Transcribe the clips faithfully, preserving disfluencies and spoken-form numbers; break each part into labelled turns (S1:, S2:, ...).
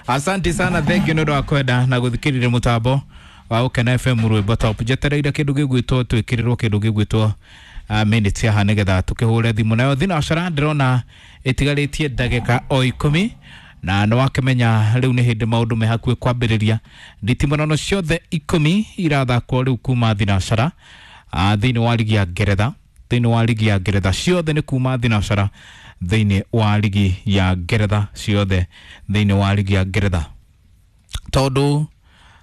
S1: Asante sana, thank you nĩ ũndũ wa kwenda na gũthikĩrĩria mũtambo wa Gũkena F M rwĩmbo top. Njetereire kĩndũ gĩgwĩtwo twĩkĩrĩrwo kĩndũ gĩgwĩtwo uh, minutes haha nĩgetha tũkĩhũre thimũ. Nayo thinacara ndĩrona ĩtigarĩtie ndagĩka o ikũmi, na nĩ wakĩmenya rĩu nĩ hĩndĩ maũndũ me hakuhĩ kwambĩrĩria. Nditimũrano ciothe ikũmi irathakwo rĩu kuma thinacara uh, thĩinĩ wa ligi ya Ngeretha, thĩinĩ wa ligi ya Ngeretha ciothe nĩ kuma thinacara thĩinĩ wa ligi ya Ngeretha ciothe thĩinĩ wa ligi ya Ngeretha, tondũ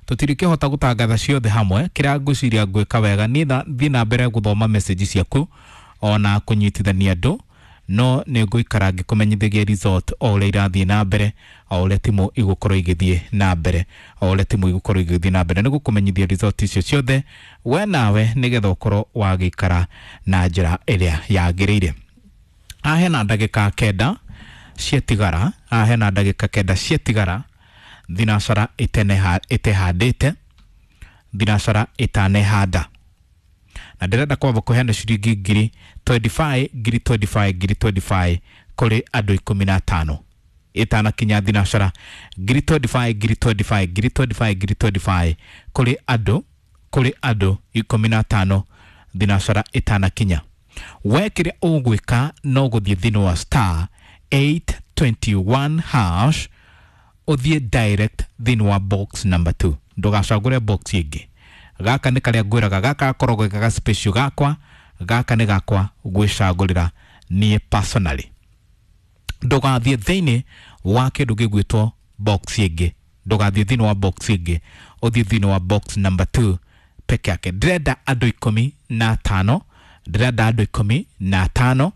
S1: tũtirĩkĩhota gũtangatha ciothe hamwe. Kĩrĩa ngwĩciria ngwĩka wega niĩ thiĩ na mbere gũthoma message ciaku ona kũnyitithania andũ, no nĩ ngũikara ngĩkũmenyithagia result o ũrĩa irathiĩ na mbere, o ũrĩa timu igũkorwo igĩthiĩ na mbere, o ũrĩa timu igũkorwo igĩthiĩ na mbere, nĩ gũkũmenyithia result icio ciothe we nawe, nĩgetha ũkorwo wagĩikara na njĩra ĩrĩa yagĩrĩire. Haha hena ndagĩka kenda ciatigara, haha hena ndagĩka kenda ciatigara thinacara ĩtehandĩte, thinacara ĩtanehanda, na ndĩrenda kwamba kũheana ciringi ngiri mĩrongo ĩrĩ na ithano, ngiri mĩrongo ĩrĩ na ithano, ngiri mĩrongo ĩrĩ na ithano kũrĩ andũ ikũmi na atano ĩtanakinya thinacara. Ngiri mĩrongo ĩrĩ na ithano, ngiri mĩrongo ĩrĩ na ithano, ngiri mĩrongo ĩrĩ na ithano, ngiri mĩrongo ĩrĩ na ithano kũrĩ andũ, kũrĩ andũ ikũmi na atano thinacara ĩtanakinya. We kĩrĩa ũgwĩka no gũthiĩ thĩinĩ wa star eight twenty-one hash, ũthiĩ direct thĩinĩ wa box number two, ndũgacagũre box ĩngĩ. Gaka nĩ karĩa ngwĩraga, gaka gakoragwo gaga special gakwa, gaka nĩ gakwa gwĩcagũrĩra niĩ personally. Ndũgathiĩ thĩinĩ wa kĩndũ gĩgwĩtwo box ĩngĩ, ndũgathiĩ thĩinĩ wa box ĩngĩ, ũthiĩ thĩinĩ wa box number two peke yake. Ndĩrenda andũ ikũmi na atano, ndĩrenda andũ ikũmi na atano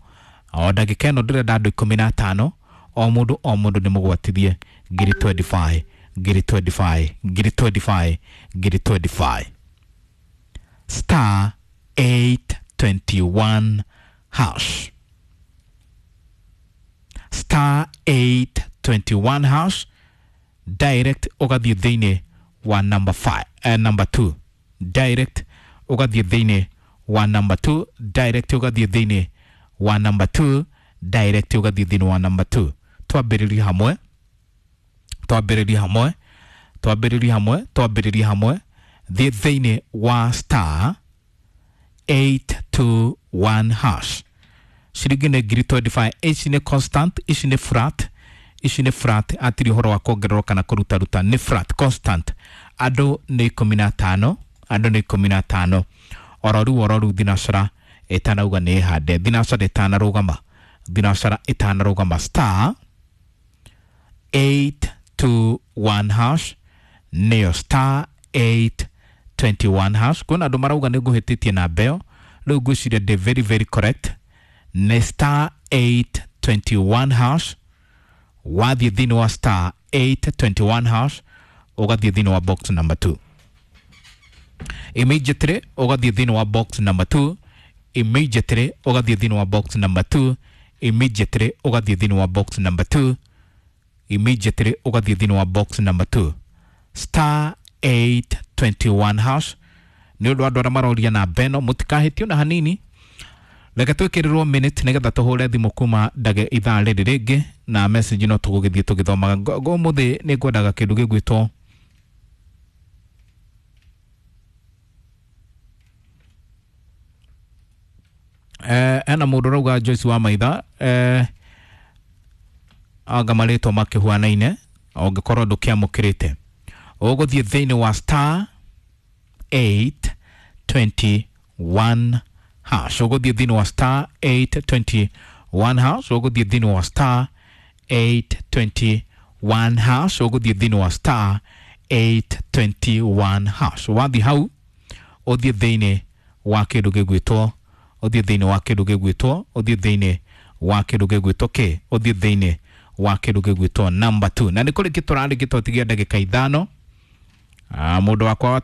S1: o ndagĩka ĩno, ndĩrenda andũ ikũmi na atano, o mũndũ o mũndũ nĩ mũgwatithie ngiri mĩrongo ĩrĩ na ithano, ngiri mĩrongo ĩrĩ na ithano, ngiri mĩrongo ĩrĩ na ithano, ngiri mĩrongo ĩrĩ na ithano. Star eight twenty-one hash, star eight twenty-one hash, direct ũgathiĩ thĩinĩ wa number five, eh, number two, direct ũgathiĩ thĩinĩ wa number two, direct ũgathiĩ thĩinĩ wa number two, direct ũgathiĩ thĩinĩ wa number two. Twambĩrĩrie hamwe, twambĩrĩrie hamwe, twambĩrĩrie hamwe, twambĩrĩrie hamwe. Thiĩ thĩinĩ wa star eight two one hash. Ciringi nĩ ngiri mĩrongo ĩrĩ na ithano. Ici nĩ constant, ici nĩ flat, ici nĩ flat, atirĩ ũhoro wa kuongererwo kana kũrutaruta, nĩ flat constant. Andũ nĩ ikũmi na atano, andũ nĩ ikũmi na atano. Oro rĩu, oro rĩu thinacara ĩtanauga nĩ ĩhande, thinacara ĩtanarũgama, thinacara ĩtanarũgama. Star eight two one hash nĩyo star eight twenty-one hash. Kwĩna andũ marauga nĩ ngũhĩtĩtie namba ĩyo, rĩu ngwĩciria ndĩ very very correct. Nĩ star eight twenty-one hash. Wathiĩ thĩinĩ wa star eight twenty-one hash, ũgathiĩ thĩinĩ wa box number two immediately, ũgathiĩ thĩinĩ wa box number two immediately, ũgathiĩ thĩinĩ wa box number two immediately, ũgathiĩ thĩinĩ wa box number two immediately, ũgathiĩ thĩinĩ wa box number two, star eight twenty-one hash. Nĩ ũndũ andũ arĩa maroria namba ĩno, mũtikahĩtio na hanini. Reke twĩkĩrĩrwo minute nĩgetha tũhũre thimũ kuma ndage ithaa rĩrĩ rĩngĩ, na message no tũgũgĩthiĩ tũgĩthomaga. Ũmũthĩ nĩ ngwendaga kĩndũ gĩgwĩtwo eh, ena mũndũ ũrauga Joyce wa Maitha, eh, anga marĩtwa makĩhuanaine, ũngĩkorwo ndũkĩamũkĩrĩte ũgũthiĩ thĩinĩ wa star eight twenty-one hash, ũgũthiĩ thĩinĩ wa star eight twenty-one hash, ũgũthiĩ thĩinĩ wa star eight twenty-one hash, ũgũthiĩ thĩinĩ wa star eight twenty-one hash. Wathiĩ hau ũthiĩ thĩinĩ wa kĩndũ gĩgwĩtwo, ũthiĩ thĩinĩ wa kĩndũ gĩgwĩtwo, ũthiĩ thĩinĩ wa kĩndũ gĩgwĩtwo kĩ, ũthiĩ thĩinĩ wa kĩndũ gĩgwĩtwo number two. Na nĩ kũrĩ kĩtũrarĩ gĩtotigia ndagĩka ithano. Ah, mũndũ wakwa wa